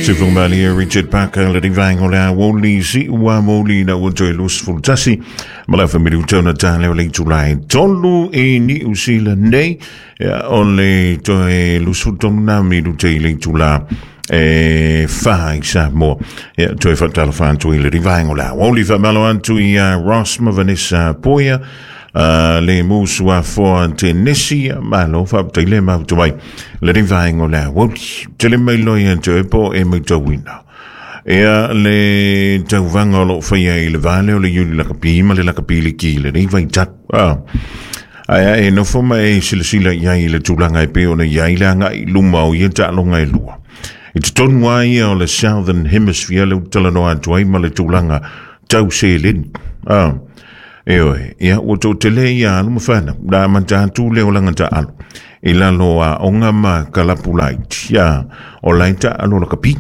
Sufumali Richard Parker le rivaenga o le aoauli si'u amouli ina ua toe 21 ma le afa minute ona ta lea o le itulā e 3 i Niu Sila nei. Ia, o le toe 23 na minute i le itulā e 4 i Samoa. Ia, toe faatalofa atu i le rivaenga o le aoauli, faamalo atu ia Ross ma Vanessa Poia, le musu afoa tenesi, malo faafetai le mafuta mai le rivaenga o le aoauli. Tele mai loi atu e po e maitauina ia le tauvaga o loo faia i le vale o le Iuli Lakapi ma le Lakapi Liki i lenei vaitau. Ae e nofo ma e silasila i ai i le tulaga e pei ona i ai le agai luma o ia taaloga e lua. I totonu lava ia o le Southern Hemisphere le talanoa atu ai ma le tulaga tau seleni. E oe, ia ua toatele ia alu ma whanau, la amata atu le olaga taalo i lalo a onga ma kalapu laiti, ia, o lai taalo lakapi.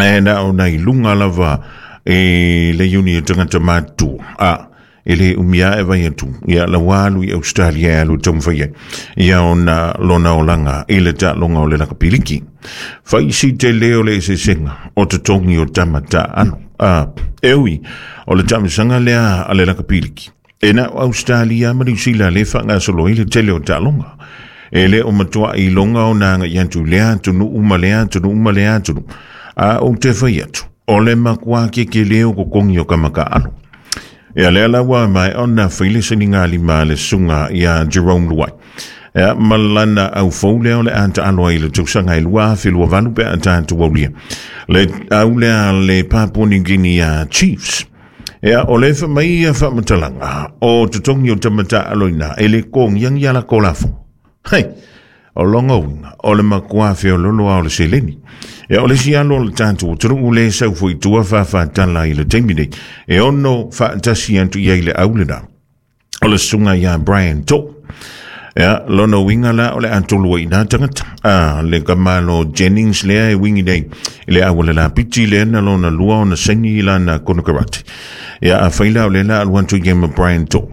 E na o nai lunga lava e le uni e tangata mātua. E le umia e vai atu, ia la walu i Australia e alu taumawhai ai. Ia ona lona olaga i le taaloga o le lakapiliki. Fai si te leo le eseesega o totogi o tama taalo. E ui, o le taamisaga lea a le lakapiliki. E na o Australia ma Niu Sila le whangasolo i le tele o taaloga. E le o matua i longa o nanga i atu le atunu uma le atunu uma le atunu. A o te whai atu, o le makua ke ke leo ko kongi o kamaka alo. Ia lea laua mai ona whaile seni ngā lima le sunga ia Jerome Luai. Ia malana au fou lea o le ata aloa i le tausaga e 2028 pe a tatou aulia le au lea le Papua New Guinea Chiefs. Ia o le whamai ia whamatalanga o totongi o tamata aloina e le kongiangi ala kolafo. Hei, o longa winga, o le makua whio lolo o le seleni. Ia o le si alo o le tātou, o tunu le sau fui tua whawha i le taimi nei, e ono whaatasi atu ia i le aulena. O le sunga ia Brian To. Ia, lona winga la o le atolua i nā tangata. Le kamalo Jennings lea e wingi nei, i le awale la piti lea na lona lua o na saini i lana konokarate. Ia, a whaila o le la alu atu i ma Brian To.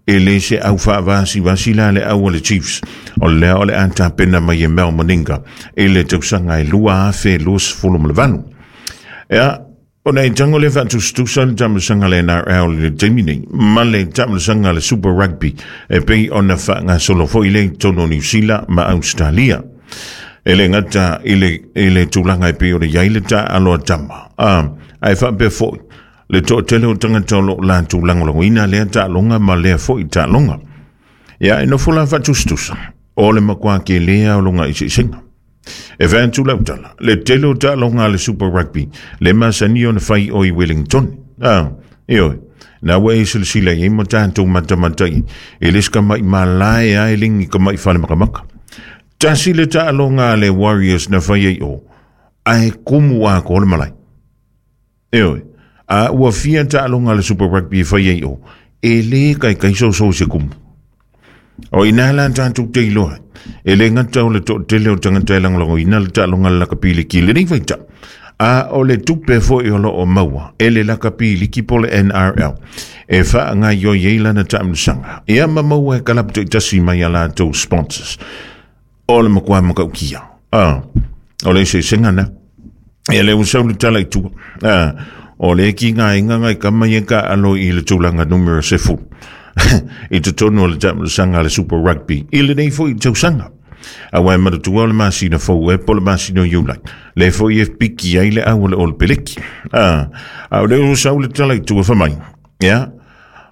E le se au whaavasi vasi la le au le Chiefs. O lea o le ata pena mai e Mel Maninga e le tausanga e 2028. Ia, o nei tango le whaatustusa le tamasanga le NRL le taimi nei, ma le tamasanga le Super Rugby e pei ona whaanga solo foi le tono New Zealand ma Australia. E le ngata i le tulaga e pei ona iai le taalo a tama. Ae faapea foi le toatele o tagata o loo latou lagolagoina lea taaloga ma lea foi taaloga. Ia e nofo la faatusatusa o le makuā kelē o loga eseesega. E fai atu lau tala, le tele o taaloga a le Super Rugby, le masani ona fai o i Wellington. Ioe, na ua e silasila i ai ma tatou matamata i e le se kama'i malae a e legi kama'i fale makamaka. Tasi le taaloga a le Warriors na fai ai o, ae kumu a ko le malae. Ioe, a ua fia taaloga a le Super Rugby e fai ai o, e lē kaikai soso i se kumu. O ina la tatou te iloa, e le gata o le toatele o tagata e lagolagoina le taaloga le lakapiliki i lenei vaitau. A o le tupe foi o loo maua e le lakapiliki po le NRL e faagaioi ai lana taamilosaga. Ia ma maua e kalapu taitasi mai a latou sponsors. O le makuā makaukia. O le eseesega na. Ia le ua sau le tala i tua. O le ki ngā inga ngai kama i ka alo i le tulaga numero 10. I totonu o le taamilosaga le Super Rugby i lenei foi tausaga. Aua e manatua o le masina fou e po le masina o Iulai. Le foi e piki ai le au o le Ole Peleki. A o le ua sau le tala i tua whamai. Ia,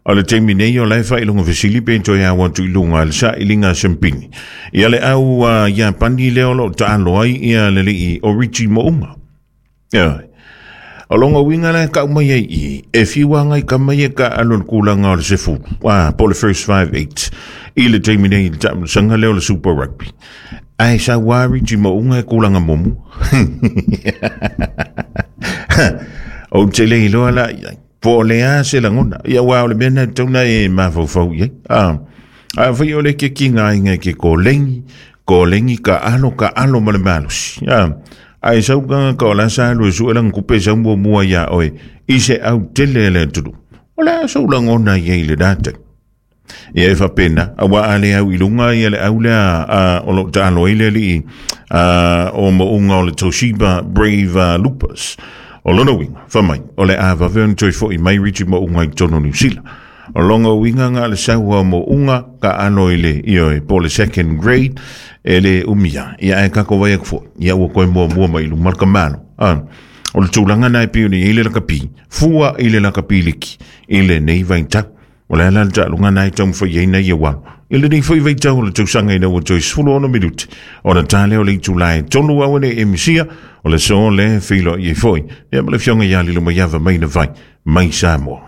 o le taimi nei o lae whailonga fesili pe toe au atu i lunga le sa ilinga sempini. Ia le au ia pani leo lo taalo ai ia le lii o Richie Mounga. Ia, o longa winga le ka umai ai i, e fiwa ngai ka mai e ka alo le kulanga o le sefulu. Po le first 5-8. I le taimi nei le taamilosaga lea o le Super Rugby. Ae sa ua Richie Mounga e kulanga mumu. O te le iloa la i ai. Po o le a se lagona. Ia ua o le mea na tauna e mafaufau i ai. A whai o le ke ki ngā inga ke kōlengi, kōlengi ka alo ma le malosi. Ai sau kanga ka o la sa alu e sue langa kupe sau mua mua ia oe, i se au tele le atunu. O le a sau lagona i ai le dātai. Ia e faapena, auā a le au i luga ia le au lea o lo o taalo ai le alii o mauga o le Toshiba Brave Lupus. O lona uiga, fai mai, o le a vave ona toe foi mai Richie Mauga i totonu o Niu Sila. O lona uiga na o le sau lava o Mauga taalo i le, ioe, po o le second grade, e le umi lava. Ia ae tatou vaai atu foi, ia ua toe muamua mai i luma le tamalo. O le tulaga lena e pei ona i ai le lakapi, fua i le lakapi liki i lenei vaitau. O le a la le taaloga lena e taumafai ai nai au alo? I lenei foi vaitau o le tausaga ina ua toe 16 minute ona ta lea o le itula e 3 aua ne i e misia, o le aso lea e feiloai ai foi ia ma le Afioga ia Lilomaiava Maina Vai mai Samoa.